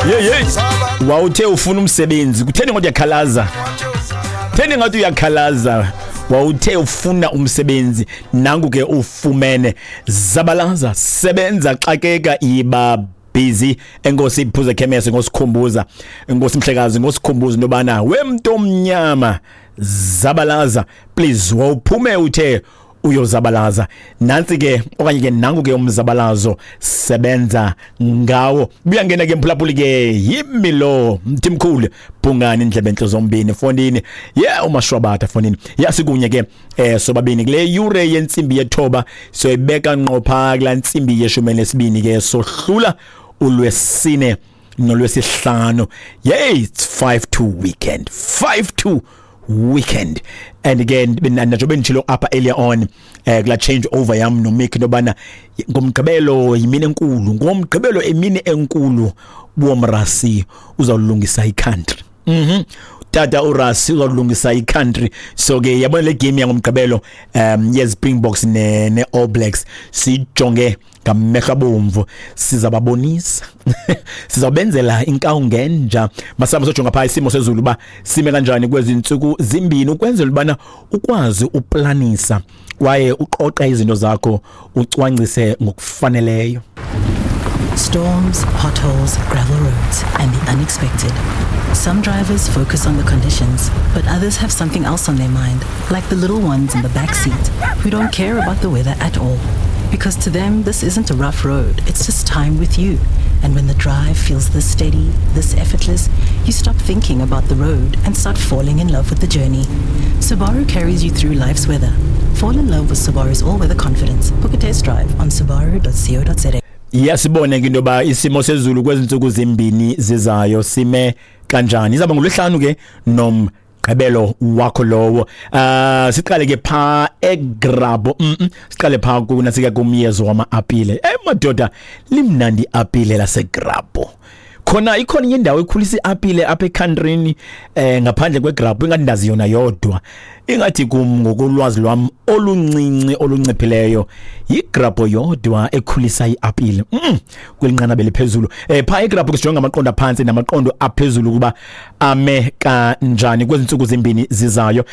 Ye ye. Wawuthe ufuna umsebenzi, kutheni ngathi uyakhalaza? Theni ngathi uyakhalaza? Wawuthe ufuna umsebenzi, nangu ke ufumene. Zabalaza, sebenza, xakeka, iba busy. Enkosi Phuze Khemese ngosikhumbuza. Enkosi Mhlekazi ngosikhumbuza into yobana wemntu omnyama zabalaza, please. Wawuphume uthe uyozabalaza, nantsi ke okanye ke nangu ke umzabalazo, sebenza ngawo. Buyangena ke mphulaphuli ke, yimi lo Mthimkhulu Bhungane, indlebe entle zombini fondini ye umashwabata fondini ya. Sikunye ke sobabini kule yure yentsimbi yethoba, soyibeka ngqo phaa kulaa ntsimbi yeshumi elinesibini ke, sohlula ulwesine nolwesihlanu. Yey, it's 5 to weekend, 5 to weekend. And again, njengoba benditshilo apha earlier on kula change over yam noMick, into yobana ngomgqibelo yimini enkulu, ngomgqibelo emini enkulu, buomrasi uzawulungisa i-country. Tata uRasi uzawulungisa i-country. So ke yabona le game yangomgqibelo ye Springboks ne All Blacks, sijonge ngamehlo abomvu, sizababonisa, sizawubenzela inkawu ngenja. Masihamba sojonga phaa isimo sezulu uba sime kanjani kwezi ntsuku zimbini, ukwenzela ubana ukwazi uplanisa kwaye uqoqe izinto zakho, ucwangcise ngokufaneleyo. Storms, potholes, gravel roads, and the unexpected. Some drivers focus on the conditions, but others have something else on their mind, like the little ones in the back seat who don't care about the weather at all. Because to them, this isn't a rough road, it's just time with you. And when the drive feels this steady, this effortless, you stop thinking about the road and start falling in love with the journey. Subaru carries you through life's weather. Fall in love with Subaru's all weather confidence. Book a test drive on subaru.co.za. Iyasibone ke into yoba isimo sezulu kwezi ntsuku zimbini zizayo sime kanjani. Izawuba ngolwesihlanu ke nomgqibelo wakho lowo. Siqale ke phaa eGrabho. Siqale phaa kunasika kumyezo wama-apile. Madoda, limnandi iapile laseGrabho. Khona ikhona enye indawo ekhulisa iapile apha ekhantrini ngaphandle kweGrabho? Ingathi ndazi yona yodwa. Ingathi kum, ngokolwazi lwam oluncinci olunciphileyo, yiGrabho yodwa ekhulisa iapile kweli nqanaba eliphezulu. Phaa eGrabho ke sijonga amaqondo aphantsi namaqondo aphezulu ukuba ame kanjani kwezi ntsuku zimbini zizayo.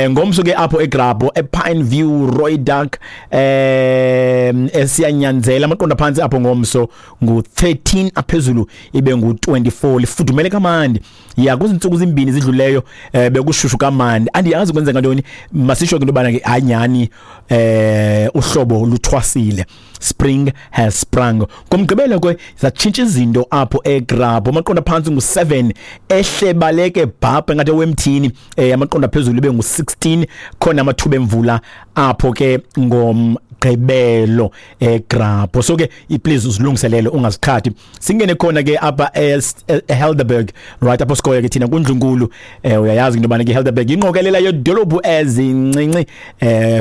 Ngomso ke apho eGrabho, ePine View, Rooidak, esiyanyanzela, amaqondo aphantsi apho ngomso ngu-13, aphezulu ibe ngu-24. Lifudumele kamandi ya. Kwezi ntsuku zimbini zidluleyo bekushushu kamandi, andiyazi kwenzeka ntoni. Masisho ke into yobana ke anyani uhlobo luthwasile, spring has sprung. Ngomgqibelo ke zatshintsha izinto apho eGrabho. Amaqondo aphantsi ngu-7, ehle baleke bhabha ngathi wemthini, amaqondo aphezulu ibe ngu-16. Khona amathuba emvula apho ke ngomgqibelo eGrabho, so ke please uzilungiselele, ungaziqhathi. Singene khona ke apha eHelderberg, right apho sikoyo ke thina kundlunkulu. Uyayazi into yobana ke Helderberg ingqokelela yedolophu ezincinci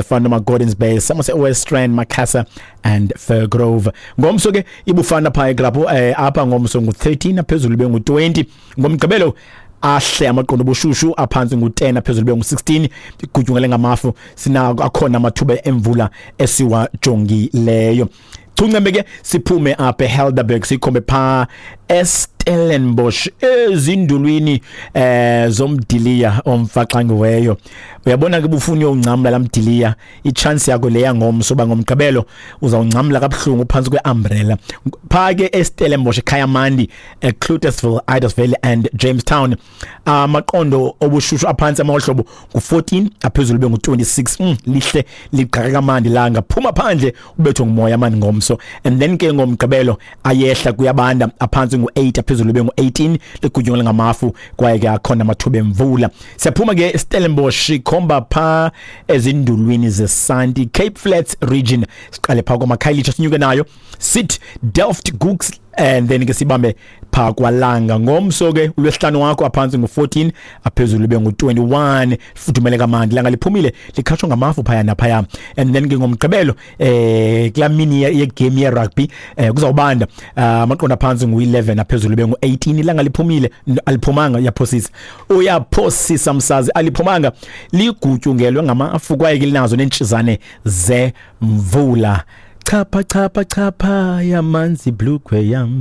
fana noma Gordons Bay, Somerset West Rand, Macassar and Firgrove. Ngomso ke ibufana phaa eGrabho, apha ngomso ngu-13, aphezulu ibe ngu-20. Ngomgqibelo ahle amaqondo obushushu, aphantsi ngu-10, aphezulu ibe ngu-16, igutyungele ngamafu. Sinako, akhona amathuba emvula esiwajongileyo. Chuncembe ke siphume apha eHelderberg, sikhombe phaa eStellenbosch, ezindulwini zomdiliya omfaxangiweyo. Uyabona ke, bufuna uyongcamla lamdiliya, i-chance yakho leya ngomso ba ngomgqibelo uzawungcamla kabuhlungu phantsi kwe-umbrella. Phaa ke eStellenbosch, eKayamandi, eCloetesville, Idasville and Jamestown, amaqondo obushushu aphantsi amahlobo ngu-14, aphezulu be ngu-26. Lihle ligqaka kamandi langa, phuma phandle ubethwe ngumoya mani ngomso. And then ke ngomgqibelo ayehla, kuyabanda, aphantsi ngu-8, aphezulu be ngu-18, ligutyungele ngamafu kwaye ke akhona amathuba emvula. Siyaphuma ke Stellenbosch, khomba phaa ezindulwini zesanti, Cape Flats region. Siqale phaa kwamakhayelitsha, sinyuke nayo sit Delft, Gooks, and then ke sibambe phaa kwalanga. Ngomso ke ulwesihlanu wakho, aphantsi ngu-14, aphezulu ibe ngu-21, fudumele kamandi, langa liphumile, likhatshwa ngamafu phaya naphaya. And then ke ngomgqibelo kulaa mini yegame ye-rugby kuzawubanda, amaqondo aphantsi ngu-11, aphezulu ibe ngu-18, ilanga liphumile. Aliphumanga, uyaphosisa, uyaphosisa msazi, aliphumanga, ligutyungelwe ngamafu kwaye ke linazo neentshizane zemvula. Chapha chapha chapha yamanzi, blukhwe yam.